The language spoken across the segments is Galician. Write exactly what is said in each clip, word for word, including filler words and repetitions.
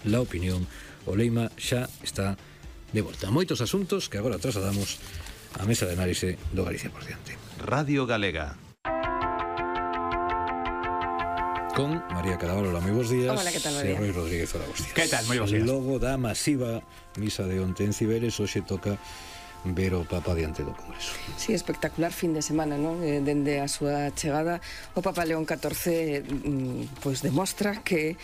La opinión, o Leima xa está de volta. Moitos asuntos que agora trasladamos á mesa de análise do Galicia por diante. Radio Galega. Con María Cadaval, hola, moi bons días. Hola, que tal, María? E Rui Rodríguez, hola, bons días. Que tal, moi bons días. Logo da masiva misa de onte en Ciberes, hoxe toca ver o Papa diante do Congreso. Sí, espectacular fin de semana, non? Eh, dende a súa chegada, o Papa León catorce mm, pois demostra que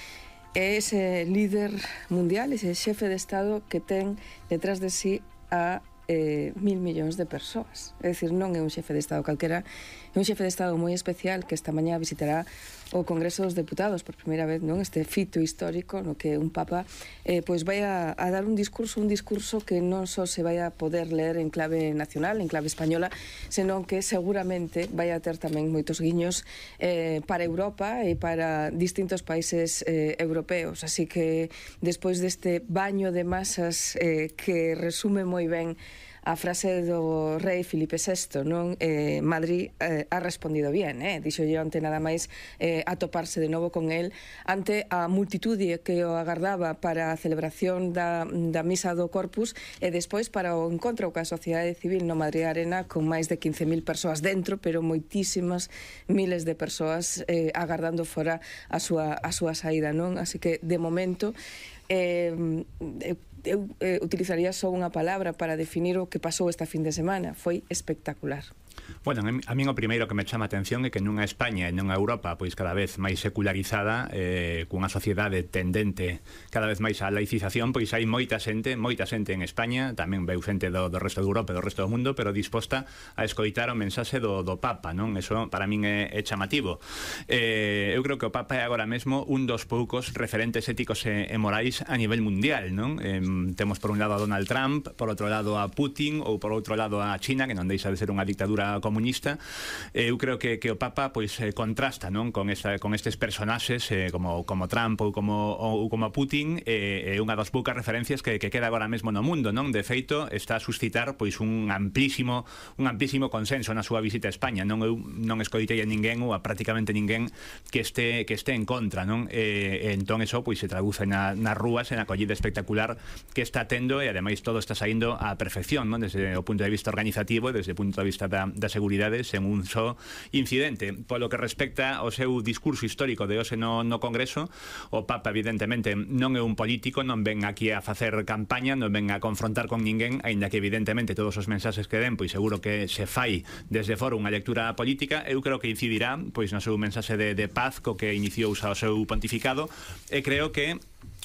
é ese líder mundial, ese xefe de Estado que ten detrás de sí a eh, mil millóns de persoas. É dicir, non é un xefe de Estado calquera, é un xefe de Estado moi especial que esta mañá visitará o Congreso dos Deputados por primeira vez, non? Este fito histórico no que un Papa eh, pois vai a, a dar un discurso, un discurso que non só se vai a poder ler en clave nacional, en clave española, senón que seguramente vai a ter tamén moitos guiños eh, para Europa e para distintos países eh, europeos. Así que despois deste baño de masas eh, que resume moi ben a frase do rei Filipe sexto, non? Eh, Madrid eh, ha respondido bien, eh? Dixo yo onte nada máis eh, atoparse de novo con el ante a multitude que o agardaba para a celebración da, da misa do Corpus e despois para o encontro coa sociedade civil no Madrid Arena con máis de quince mil persoas dentro, pero moitísimas miles de persoas eh, agardando fora a súa, a súa saída, non? Así que, de momento, eh, eu eu eh, utilizaría só unha palabra para definir o que pasou esta fin de semana. Foi espectacular. Bueno, a min o primeiro que me chama a atención é que nunha España e nunha Europa pois cada vez máis secularizada, eh, cunha sociedade tendente cada vez máis á laicización, pois hai moita xente, moita xente en España, tamén veu xente do, do resto de Europa e do resto do mundo, pero disposta a escoitar o mensaxe do, do Papa, non? Eso para min é, é chamativo. Eh, eu creo que o Papa é agora mesmo un dos poucos referentes éticos e, e morais a nivel mundial, non? Eh, temos por un lado a Donald Trump, por outro lado a Putin ou por outro lado a China, que non deixa de ser unha dictadura comunista. Eu creo que, que o Papa pois eh, contrasta, non, con esta, con estes personaxes eh, como como Trump ou como ou como Putin, é eh, unha das poucas referencias que, que queda agora mesmo no mundo, non? De feito, está a suscitar pois un amplísimo un amplísimo consenso na súa visita a España. Non eu non escoitei a ninguén ou a prácticamente ninguén que este que este en contra, non? E, e entón eso pois se traduce na, nas rúas en a acollida espectacular que está tendo e ademais todo está saindo á perfección, non? Desde o punto de vista organizativo e desde o punto de vista da da seguridade sen un só incidente. Polo que respecta ao seu discurso histórico de hoxe no, no Congreso, o Papa evidentemente non é un político, non ven aquí a facer campaña, non ven a confrontar con ninguén, aínda que evidentemente todos os mensaxes que den, pois seguro que se fai desde fora unha lectura política. Eu creo que incidirá pois no seu mensaxe de, de paz co que iniciou o seu pontificado, e creo que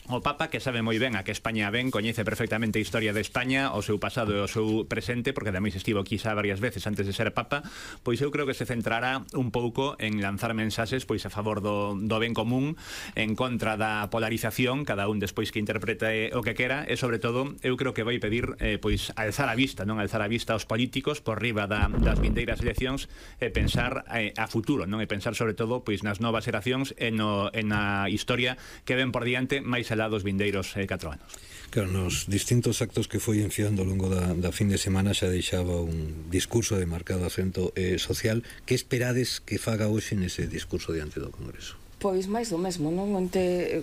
o Papa, que sabe moi ben a que España ven, coñece perfectamente a historia de España, o seu pasado e o seu presente, porque ademais estivo aquí xa varias veces antes de ser Papa, pois eu creo que se centrará un pouco en lanzar mensaxes pois a favor do, do ben común, en contra da polarización, cada un despois que interprete o que quera, e sobre todo eu creo que vai pedir eh, pois alzar a vista, non alzar a vista aos políticos por riba da, das vindeiras eleccións e pensar eh, a futuro, non? E pensar sobre todo pois nas novas xeracións e no, en a historia que ven por diante máis alá dos vindeiros eh, catro anos. Claro, nos distintos actos que foi enfiando ao longo da, da fin de semana xa deixaba un discurso de marcado acento eh, social. Que esperades que faga hoxe nese discurso diante do Congreso? Pois máis do mesmo, non? Onte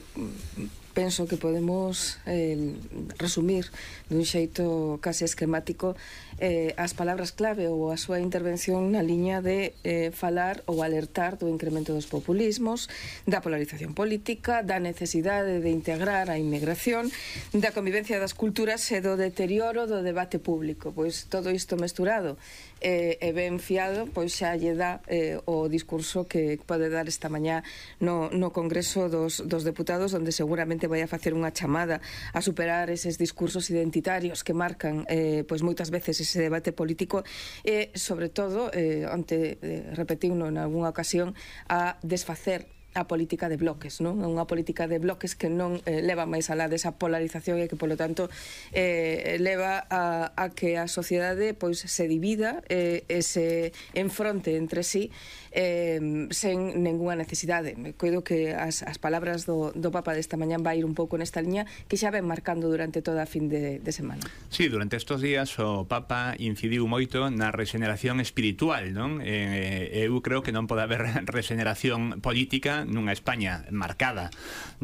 penso que podemos eh, resumir dun xeito case esquemático eh, as palabras clave ou a súa intervención na liña de eh, falar ou alertar do incremento dos populismos, da polarización política, da necesidade de integrar a inmigración, da convivencia das culturas e do deterioro do debate público. Pois todo isto mesturado e, e ben fiado, pois xa lle dá eh, o discurso que pode dar esta mañá no, no Congreso dos, dos Deputados, onde seguramente vai a facer unha chamada a superar eses discursos identitarios que marcan eh, pois moitas veces ese debate político e, sobre todo, eh, onte eh, repetiuno en algunha ocasión, a desfacer a política de bloques, non? Unha política de bloques que non eh, leva máis alá desa polarización e que, polo tanto, eh, leva a, a que a sociedade pois se divida eh, e se enfronte entre sí eh, sen ninguna necesidade. Me coido que as, as palabras do, do Papa desta mañán vai ir un pouco nesta liña que xa ven marcando durante toda a fin de, de semana. Sí, durante estes días o Papa incidiu moito na regeneración espiritual, non? Eh, eu creo que non pode haber regeneración política política, nunha España marcada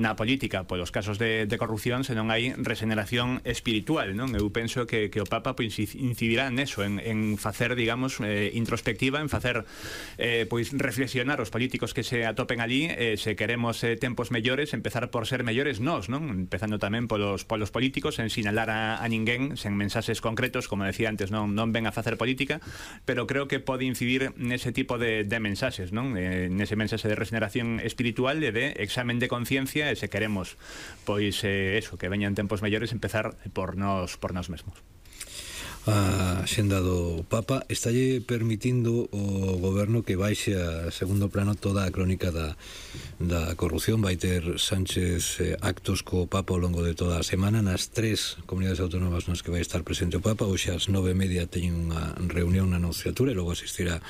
na política polos casos de, de corrupción, senón hai regeneración espiritual, non? Eu penso que, que o Papa pois, incidirá neso, en, en facer, digamos, eh, introspectiva, en facer eh, pois reflexionar os políticos que se atopen ali, eh, se queremos eh, tempos mellores, empezar por ser mellores nós, non? Empezando tamén polos, polos políticos, en sinalar a, a ninguén, sen mensaxes concretos, como decía antes, non, non ven a facer política, pero creo que pode incidir nese tipo de, de mensaxes, non? Eh, nese mensaxe de regeneración espiritual e de examen de conciencia, e se queremos pois eh, eso, que veñan tempos mellores, empezar por nós, por nós mesmos. A xenda do Papa estalle permitindo o goberno que baixe a segundo plano toda a crónica da, da corrupción. Vai ter Sánchez eh, actos co Papa ao longo de toda a semana nas tres comunidades autónomas nas que vai estar presente o Papa. Hoxe ás nove e media teñen unha reunión na Anunciatura e logo asistirá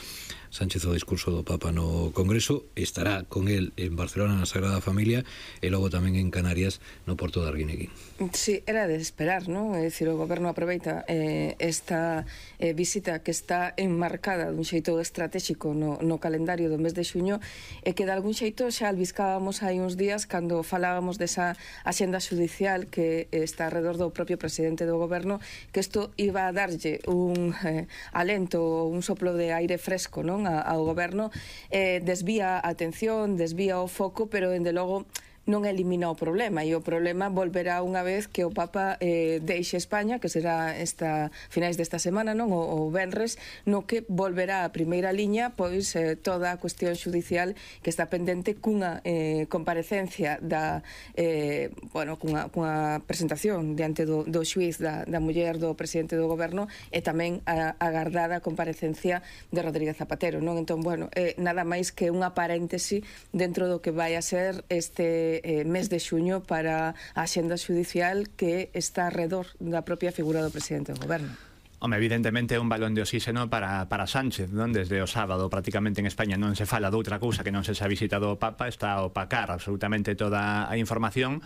Sánchez ao discurso do Papa no Congreso. Estará con el en Barcelona na Sagrada Familia e logo tamén en Canarias no Porto de Arguineguín. Sí, era de esperar, non? É dicir, o goberno aproveita eh, esta eh, visita que está enmarcada dun xeito estratégico no, no calendario do mes de xuño e que de algún xeito xa albiscábamos hai uns días cando falábamos desa axenda judicial que está alrededor do propio presidente do goberno, que isto iba a darlle un eh, alento, un soplo de aire fresco, non? Ao goberno, eh, desvía a atención, desvía o foco, pero dende logo non elimina o problema, e o problema volverá unha vez que o Papa eh, deixe España, que será esta finais desta semana, non, o, o venres, no que volverá a primeira liña pois eh, toda a cuestión judicial que está pendente cunha eh, comparecencia da eh, bueno, cunha, cunha presentación diante do, do xuiz da, da muller do presidente do goberno e tamén a agardada comparecencia de Rodríguez Zapatero, non? Entón, bueno, eh, nada máis que unha paréntesi dentro do que vai a ser este Eh, mes de xuño para a axenda judicial que está alrededor da propia figura do presidente do goberno. Home, evidentemente é un balón de oxígeno para, para Sánchez, non? Desde o sábado prácticamente en España non se fala de outra cousa que non se xa visitado o Papa, está a opacar absolutamente toda a información,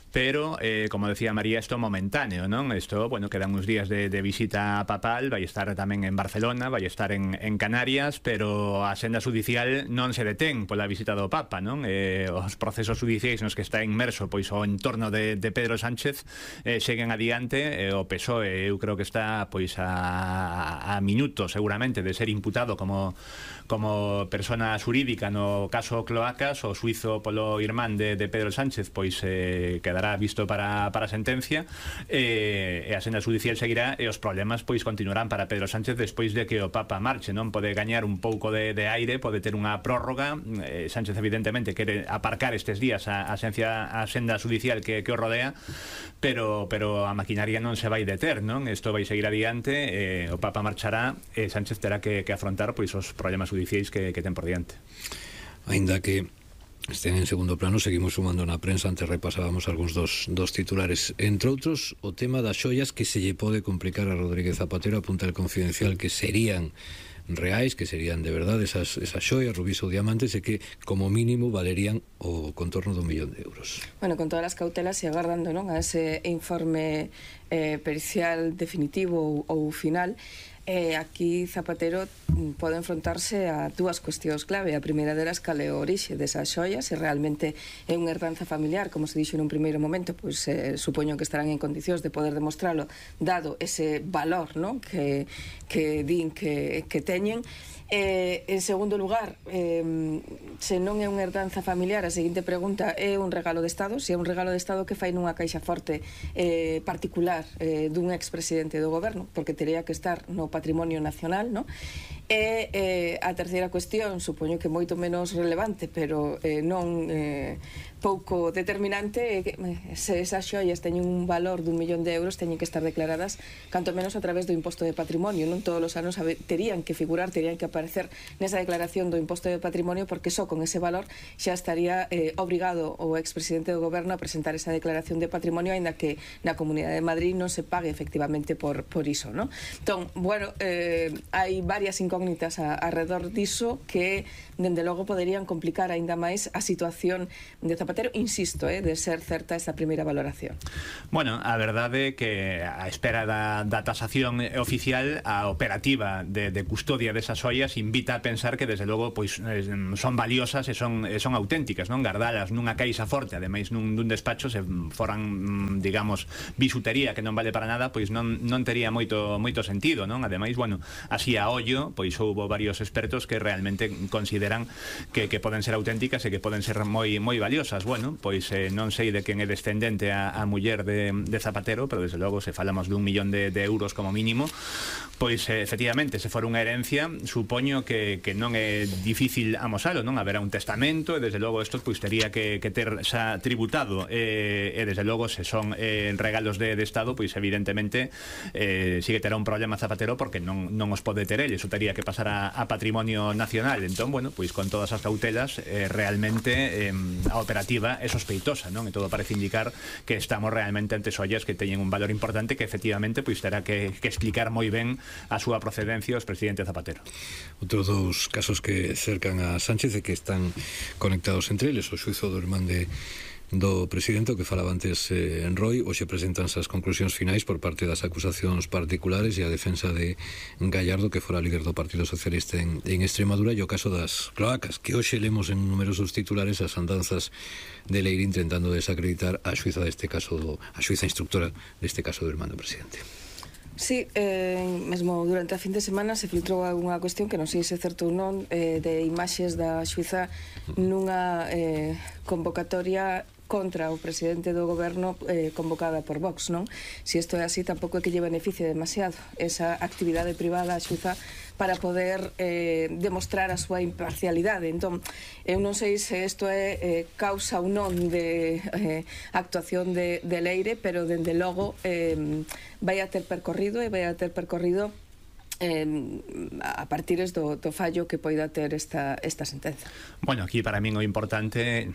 pero, eh, como decía María, isto momentáneo, non? Isto, bueno, quedan uns días de, de visita papal, vai estar tamén en Barcelona, vai estar en, en Canarias, pero a senda judicial non se detén pola visita do Papa, non? Eh, os procesos judiciais nos que está inmerso pois o entorno de, de Pedro Sánchez eh, seguen adiante, eh, o P S O E eu creo que está pois a, a minutos seguramente de ser imputado como, como persona xurídica no caso Cloacas. O suizo polo irmán de, de Pedro Sánchez pois eh, quedará visto para, para a sentencia eh, e a senda judicial seguirá e os problemas pois continuarán para Pedro Sánchez despois de que o Papa marche, non? Pode gañar un pouco de, de aire, pode ter unha prórroga. eh, Sánchez evidentemente quere aparcar estes días a, a, sencia, a senda judicial que, que o rodea, pero, pero a maquinaria non se vai deter, non? Isto vai seguir adiante. Eh, o Papa marchará e Sánchez terá que, que afrontar pois os problemas judiciais que, que ten por diante. Ainda que estén en segundo plano, seguimos sumando na prensa. Antes repasábamos algúns dos, dos titulares, entre outros o tema das xoias que se lle pode complicar a Rodríguez Zapatero. Apunta El Confidencial que serían reais, que serían de verdade esas, esas xoias, rubíes ou diamantes, e que como mínimo valerían o contorno dun millón de euros. Bueno, con todas as cautelas e agardando, non, a ese informe eh, pericial definitivo ou, ou final. Eh, aquí Zapatero pode enfrontarse a dúas cuestións clave. A primeira delas, cal é o orixe desas xoias, se realmente é unha herdanza familiar, como se dixo nun primeiro momento, pois eh, supoño que estarán en condicións de poder demostralo, dado ese valor, non, que, que din que, que teñen. Eh, en segundo lugar, eh, se non é unha herdanza familiar, a seguinte pregunta é un regalo de Estado. Se é un regalo de Estado, que fai nunha caixa forte eh, particular eh, dun expresidente do goberno, porque teria que estar no patrimonio nacional, non? E eh, a terceira cuestión, supoño que moito menos relevante, pero eh, non eh, pouco determinante, é que se esas xoias teñen un valor dun millón de euros, teñen que estar declaradas canto menos a través do imposto de patrimonio, non? Todos os anos terían que figurar, terían que aparecer nesa declaración do imposto de patrimonio, porque só con ese valor xa estaría eh, obrigado o expresidente do goberno a presentar esa declaración de patrimonio, aínda que na Comunidade de Madrid non se pague efectivamente por, por iso, non? Entón, bueno, eh, hai varias incógnitas incógnitas a, alrededor diso que, dende logo, poderían complicar aínda máis a situación de Zapatero, insisto, eh, de ser certa esta primeira valoración. Bueno, a verdade é que a espera da, da tasación oficial, a operativa de, de custodia desas ollas invita a pensar que, desde logo, pois son valiosas e son, e son auténticas, non? Gardalas nunha caixa forte, ademais nun, nun despacho, se foran, digamos, bisutería que non vale para nada, pois non, non tería moito, moito sentido, non? Ademais, bueno, así a ollo, pois houbo varios expertos que realmente consideran que, que poden ser auténticas e que poden ser moi, moi valiosas. Bueno, pois eh, non sei de quen é descendente a, a muller de, de Zapatero, pero desde logo se falamos dun millón de, de euros como mínimo, pois eh, efectivamente, se for unha herencia, supoño que, que non é difícil amosalo, non? Haberá un testamento e desde logo isto pois tería que, que ter xa tributado e, e desde logo se son eh, regalos de, de Estado, pois evidentemente eh, sí que terá un problema Zapatero porque non, non os pode ter el, iso tería que pasar a, a patrimonio nacional. Entón, bueno, pois con todas as cautelas eh, realmente eh, a operativa é sospeitosa, non? E todo parece indicar que estamos realmente ante ollas que teñen un valor importante que efectivamente pois terá que, que explicar moi ben a súa procedencia os presidente Zapatero. Outros dous casos que cercan a Sánchez e que están conectados entre eles, o xuizo do irmán de do presidente, que falaba antes eh, en Roy. Hoxe presentanse as conclusións finais por parte das acusacións particulares e a defensa de Gallardo, que fora líder do Partido Socialista en, en Extremadura, e o caso das cloacas, que hoxe lemos en numerosos titulares as andanzas de Leire intentando desacreditar a xuiza deste caso, do, a xuiza instructora deste caso do irmán do presidente. Sí, eh, mesmo durante a fin de semana se filtrou algunha cuestión que non sei se é certo ou non, eh, de imaxes da xuiza nunha eh, convocatoria contra o presidente do goberno eh, convocada por Vox, non? Se isto é así, tampouco é que lle beneficie demasiado esa actividade privada a xuiza para poder eh, demostrar a súa imparcialidade. Entón, eu non sei se isto é eh, causa ou non de eh, actuación de, de Leire, pero dende logo eh, vai a ter percorrido e vai a ter percorrido Eh, a partir do, do fallo que poida ter esta, esta sentenza. Bueno, aquí para min o importante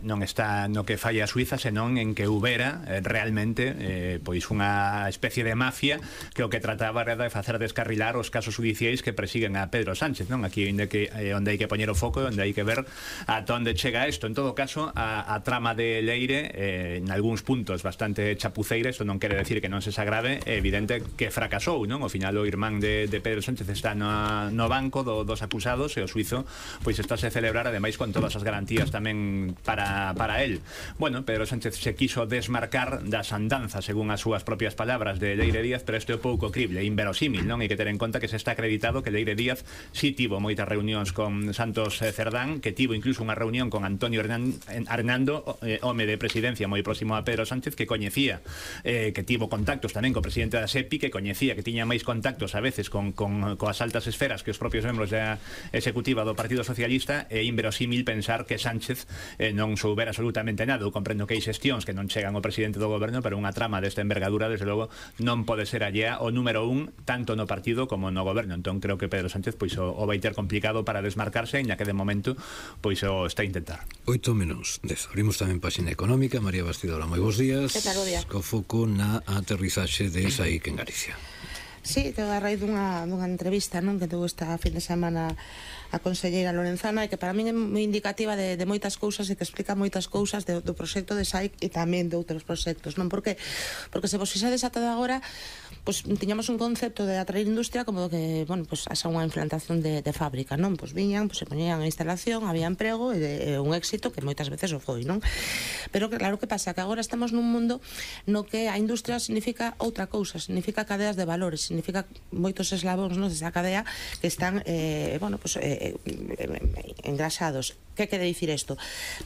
non está no que falla a Suiza, senón en que houbera eh, realmente eh, pois unha especie de mafia que o que trataba era de facer descarrilar os casos judiciais que persiguen a Pedro Sánchez, non? Aquí onde, que, eh, onde hai que poñer o foco, onde hai que ver ata onde chega isto. En todo caso, a, a trama de Leire eh, en algúns puntos bastante chapuceira, isto non quere decir que non se sagrave, é evidente que fracasou, non? Ao final o irmán de De, de Pedro Sánchez está no, no banco do, dos acusados e o suizo pois estáse a celebrar, ademais con todas as garantías tamén para, para él. Bueno, Pedro Sánchez se quiso desmarcar das andanzas, según as súas propias palabras, de Leire Díaz, pero isto é pouco crible, inverosímil, non? Hai que ter en conta que se está acreditado que Leire Díaz si tivo moitas reunións con Santos Cerdán, que tivo incluso unha reunión con Antonio Hernando, eh, home de presidencia moi próximo a Pedro Sánchez, que coñecía, eh, que tivo contactos tamén co presidente da SEPI, que coñecía, que tiña máis contactos a veces con, con, coas altas esferas que os propios membros da executiva do Partido Socialista. É inverosímil pensar que Sánchez eh, non soubera absolutamente nada. Eu comprendo que hai xestións que non chegan ao presidente do goberno, pero unha trama desta envergadura, desde logo, non pode ser allea o número un, tanto no partido como no goberno. Entón creo que Pedro Sánchez pois o, o vai ter complicado para desmarcarse, en que de momento pois o está a intentar. Oito menos dez. Abrimos tamén páxina económica. María Bastidora, moi bons días. Que tal, bo día? Co foco na aterrizaxe de Saic en Galicia. Sí, que a raíz dunha, dunha entrevista, non, que tuvo esta fin de semana a conselleira Lorenzana, e que para min é moi indicativa de, de moitas cousas e que explica moitas cousas de, do proxecto de Saic e tamén de outros proxectos, non? Por que? Porque se vos fixades ata agora, pues, tiñamos un concepto de atraer industria como que, bueno, pues, asa unha implantación de, de fábrica, non? Pues viñan, pues, se poñían a instalación, había emprego e, de, e un éxito que moitas veces o foi, non? Pero claro, que pasa? Que agora estamos nun mundo no que a industria significa outra cousa, significa cadeas de valores, significa moitos eslabóns, non, desa cadea que están, eh, bueno, pues, eh, engrasados. Que quere dicir isto?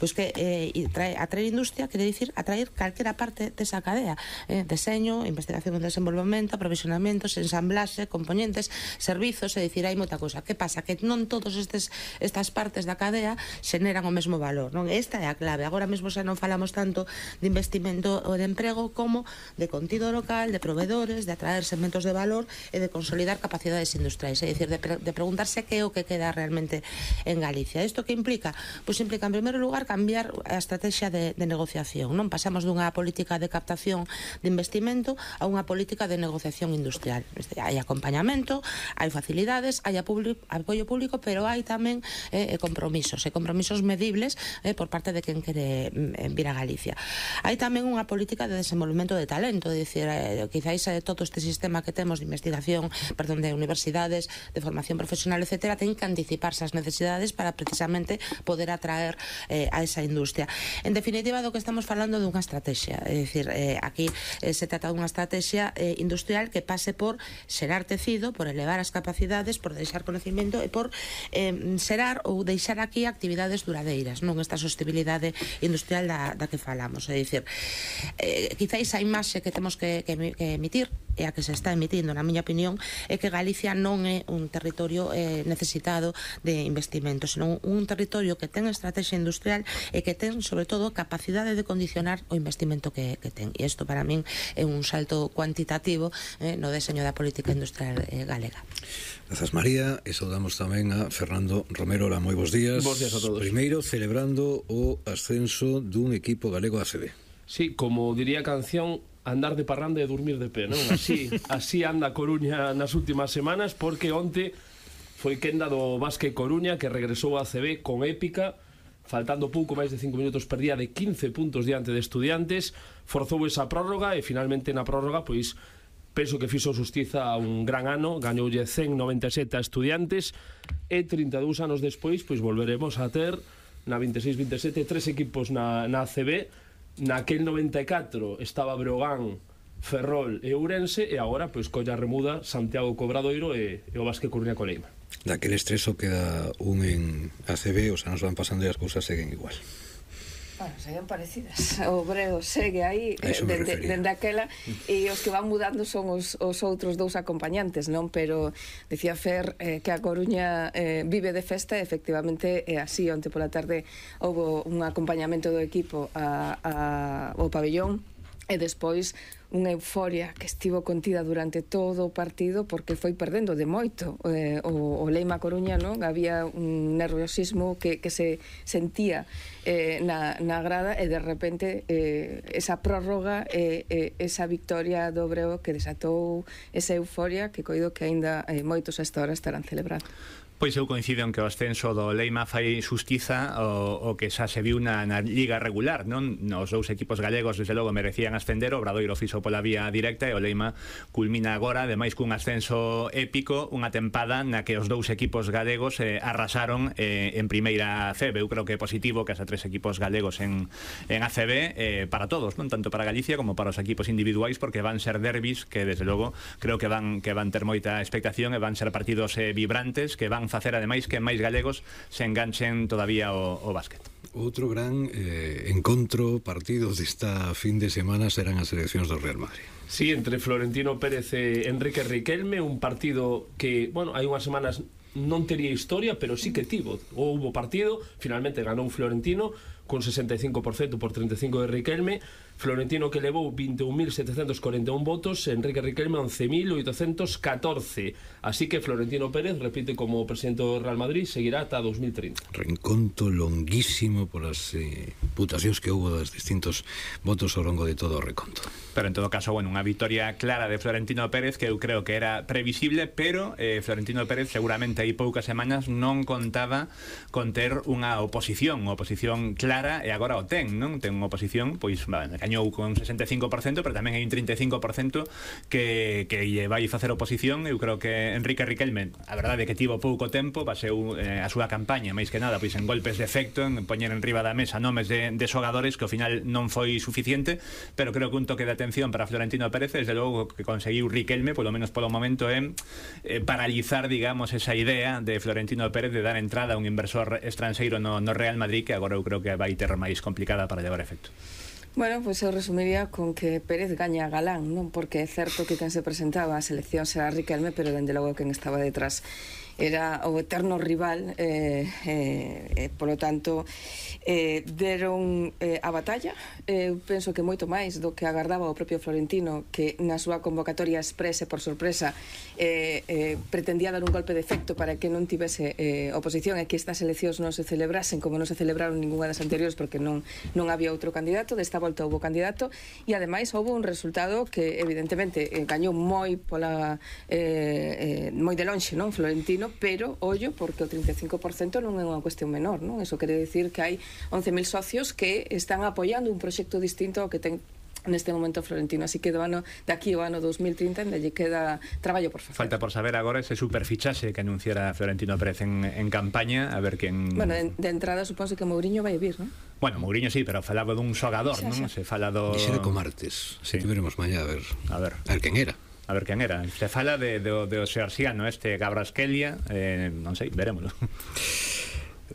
Pois que eh, trae, atraer industria quere dicir atraer calquera parte desa cadea, eh, deseño, investigación e desenvolvemento, aprovisionamento, ensamblaxe, componentes, servizos, é dicir, hai moita cousa. Que pasa? Que non todos estes, estas partes da cadea xeneran o mesmo valor, non? Esta é a clave. Agora mesmo xa non falamos tanto de investimento ou de emprego como de contido local, de proveedores, de atraer segmentos de valor e de consolidar capacidades industriais, é dicir, de, pre de preguntarse que é o que queda realmente en Galicia. Isto que implica? pois implica, en primeiro lugar, cambiar a estrategia de, de negociación, non? Pasamos dunha política de captación de investimento a unha política de negociación industrial. Hai acompañamento, hai facilidades, hai apoio público, pero hai tamén eh, compromisos, e compromisos medibles eh, por parte de quen quere eh, vir a Galicia. Hai tamén unha política de desenvolvemento de talento, é dicir, eh, quizáis eh, todo este sistema que temos de investigación, perdón, de universidades, de formación profesional, etcétera, ten que anticiparse as necesidades para precisamente poder atraer eh, a esa industria. En definitiva, do que estamos falando dunha estrategia, é dicir, eh, aquí eh, se trata dunha estrategia eh, industrial que pase por xerar tecido, por elevar as capacidades, por deixar conocimiento e por eh, xerar ou deixar aquí actividades duradeiras, non esta sostenibilidade industrial da, da que falamos. É dicir, eh, quizáis a imaxe que temos que, que, que emitir, e a que se está emitindo, na miña opinión, é que Galicia non é un territorio eh, necesitado de investimento, senón un territorio que ten estrategia industrial e que ten, sobre todo, capacidade de condicionar o investimento que, que ten. E isto, para min, é un salto cuantitativo eh, no deseño da política industrial eh, galega. Grazas, María, e saudamos tamén a Fernando Romero. Hola, moi bons días. Bos días a todos. Primeiro, celebrando o ascenso dun equipo galego A C B. Sí, como diría a canción, andar de parranda e dormir de pé, non? Así, así anda a Coruña nas últimas semanas, porque onte foi quenda do Básquet Coruña, que regresou a C B con épica, faltando pouco máis de cinco minutos, perdía de quince puntos diante de Estudiantes, forzou esa prórroga e finalmente na prórroga, pois, penso que fixo xustiza a un gran ano, gañoulle cen noventa e sete a Estudiantes, e trinta e dous anos despois, pois, volveremos a ter na vinte e seis vinte e sete tres equipos na, na A C B. Naquel noventa e catro estaba Breogán, Ferrol e Ourense, e agora, pois, colla remuda Santiago Cobradoiro e, e o Básquet Coruña Coleima. Daquel estreso queda un en A C B, os anos van pasando e as cousas seguen igual. Bueno, seguen parecidas. O Breo segue aí eh, dende, dende aquela, e os que van mudando son os, os outros dous acompañantes, non? Pero decía Fer eh, que a Coruña eh, vive de festa, e efectivamente é así. Onte pola tarde houve un acompañamento do equipo a, a, ao pabellón, e despois unha euforia que estivo contida durante todo o partido, porque foi perdendo de moito eh, o, o Leima Coruña, non? Había un nerviosismo que, que se sentía eh, na, na grada, e de repente eh, esa prórroga e eh, eh, esa victoria do Breo que desatou esa euforia que coido que aínda eh, moitos a esta hora estarán celebrando. Pois eu coincido en que o ascenso do Leima fai xustiza o, o que xa se viu na, na liga regular, non? Os dous equipos galegos, desde logo, merecían ascender, o Obradoiro fixo pola vía directa, e o Leima culmina agora, ademais cun ascenso épico, unha tempada na que os dous equipos galegos eh, arrasaron eh, en primeira C B. Eu creo que é positivo que hasta tres equipos galegos en, en A C B eh, para todos, non? Tanto para Galicia como para os equipos individuais, porque van ser derbis que, desde logo, creo que van, que van ter moita expectación, e van ser partidos eh, vibrantes, que van facer ademais que máis galegos se enganchen todavía o, o básquet. Outro gran eh, encontro, partido desta fin de semana serán as seleccións do Real Madrid. Sí, entre Florentino Pérez e Enrique Riquelme, un partido que, bueno, hai unhas semanas non tería historia, pero sí que tivo. Houbo partido, finalmente ganou Florentino con sesenta e cinco por cento por treinta e cinco de Riquelme. Florentino, que levou vinte e un mil setecentos corenta e un votos, Enrique Riquelme once mil oitocentos catorce. Así que Florentino Pérez repite como presidente do Real Madrid, seguirá ata dos mil trinta. Reencontro longuísimo polas eh, putacións que houve dos distintos votos ao longo de todo o reconto. Pero en todo caso, bueno, unha victoria clara de Florentino Pérez, que eu creo que era previsible, pero eh, Florentino Pérez seguramente hai poucas semanas non contaba con ter unha oposición, unha oposición clara, e agora o ten, non? Ten unha oposición, pois, vale, gañou con sesenta e cinco por cento, pero tamén hai un trinta e cinco por cento que, que lle vai facer oposición. Eu creo que Enrique Riquelme, a verdade é que tivo pouco tempo, baseu eh, a súa campaña, máis que nada, pois en golpes de efecto, en poñer en riba da mesa nomes de, de xogadores, que ao final non foi suficiente, pero creo que un toque de atención para Florentino Pérez, desde logo, que conseguiu Riquelme, polo menos polo momento, é eh, paralizar, digamos, esa idea de Florentino Pérez de dar entrada a un inversor estranxeiro no, no Real Madrid, que agora eu creo que vai ter máis complicada para levar efecto. Bueno, pois eu resumiría con que Pérez gaña a Galán, non? Porque é certo que quen se presentaba a selección será Riquelme, pero dende logo quen estaba detrás era o eterno rival, eh, eh, eh, polo tanto eh, deron eh, a batalla. Eu eh, penso que moito máis do que agardaba o propio Florentino, que na súa convocatoria exprese por sorpresa eh, eh, pretendía dar un golpe de efecto para que non tivese eh, oposición e que estas eleccións non se celebrasen como non se celebraron ninguna das anteriores, porque non, non había outro candidato. Desta volta houve candidato e ademais houve un resultado que evidentemente eh, gañou moi pola eh, eh, moi de lonxe, non, Florentino, pero ollo, porque o trinta e cinco por cento non é unha cuestión menor, non? Eso quere dicir que hai once mil socios que están apoiando un proxecto distinto ao que ten neste momento Florentino, así que do ano de aquí ao ano dos mil trinta ainda lle queda traballo por facer. Falta por saber agora ese superfichaxe que anunciara Florentino Pérez en, en campaña, a ver quen... Bueno, de, de entrada suponse que Mourinho vai vir, non? Bueno, Mourinho sí, pero falaba dun xogador, non? Se fala do... Dixera co martes, sí. Se veremos mañá a ver, a ver, a ver quen era. A ver quen era. Se fala de, de, de o xeorxiano este Gabraskelia, eh, non sei, verémoslo.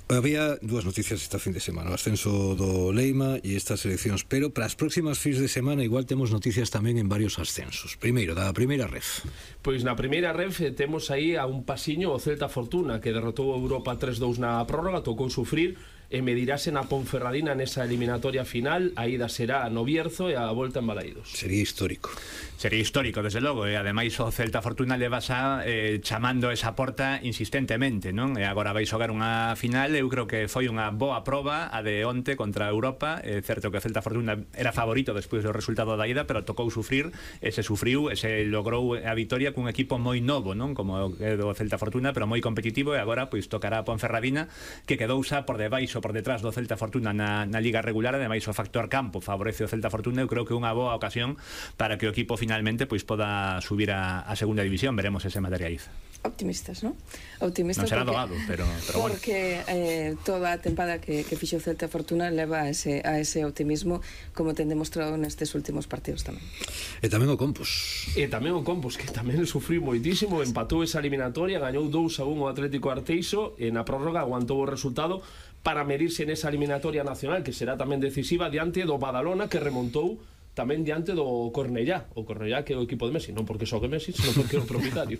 Había dúas noticias esta fin de semana, o ascenso do Leima e estas eleccións, pero para as próximas fins de semana igual temos noticias tamén en varios ascensos. Primeiro, da primeira ref. Pois na primeira ref temos aí a un pasiño o Celta Fortuna, que derrotou a Europa tres dous na prórroga, tocou sufrir e medirase na Ponferradina nesa eliminatoria final. A ida será no Bierzo e a volta en Balaídos. Sería histórico. Sería histórico, desde logo, e ademais o Celta Fortuna leva xa eh, chamando esa porta insistentemente, non? E agora vai xogar unha final, eu creo que foi unha boa proba a de onte contra a Europa. É certo que o Celta Fortuna era favorito despois do resultado da ida, pero tocou sufrir, e se sufriu, e se logrou a vitoria cun equipo moi novo, non? Como é do Celta Fortuna, pero moi competitivo, e agora pois tocará a Ponferradina, que quedou xa por debaixo, por detrás do Celta Fortuna na, na Liga regular. Ademais o factor campo favorece o Celta Fortuna. Eu creo que é unha boa ocasión para que o equipo finalmente pois poda subir a, a segunda división. Veremos ese materializa. Optimistas, non? Optimistas, non será porque, doado, pero, pero porque bueno. eh, toda a tempada que, que fixo o Celta Fortuna leva a ese, a ese optimismo, como ten demostrado nestes últimos partidos tamén. E tamén o Compos. E tamén o Compos, que tamén sufriu moitísimo, empatou esa eliminatoria, gañou dous a un o Atlético Arteixo, e na prórroga aguantou o resultado para medirse nesa eliminatoria nacional, que será tamén decisiva diante do Badalona, que remontou tamén diante do Cornellá. O Cornellá, que é o equipo de Messi, non porque xogue Messi, senón porque é o propietario.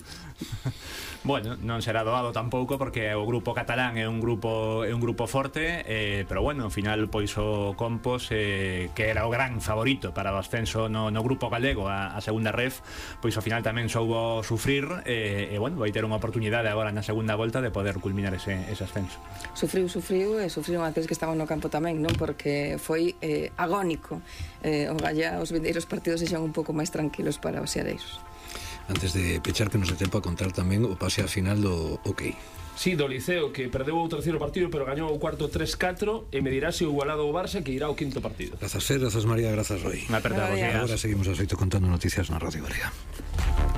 Bueno, non será doado tampouco, porque o grupo catalán é un grupo é un grupo forte, eh, pero bueno, ao final pois o Compos, eh, que era o gran favorito para o ascenso no, no grupo galego a, a segunda ref, pois ao final tamén soubo sufrir, eh, e bueno, vai ter unha oportunidade agora na segunda volta de poder culminar ese, ese ascenso. Sufriu, sufriu, e sufriron aqueles que estaban no campo tamén, non? Porque foi eh, agónico. Eh, o Gallá, os vindeiros partidos sexan un pouco máis tranquilos para os xeareiros. Antes de pechar, que nos dé tempo a contar tamén o pase a final do OK. Sí, do Liceo, que perdeu o terceiro partido, pero gañou o cuarto tres catro, e medirase o igualado ao Barça, que irá ao quinto partido. Grazas, Ser, grazas, María, grazas, Roy. Unha aperta, Agora seguimos a xeito contando noticias na Radio Galega.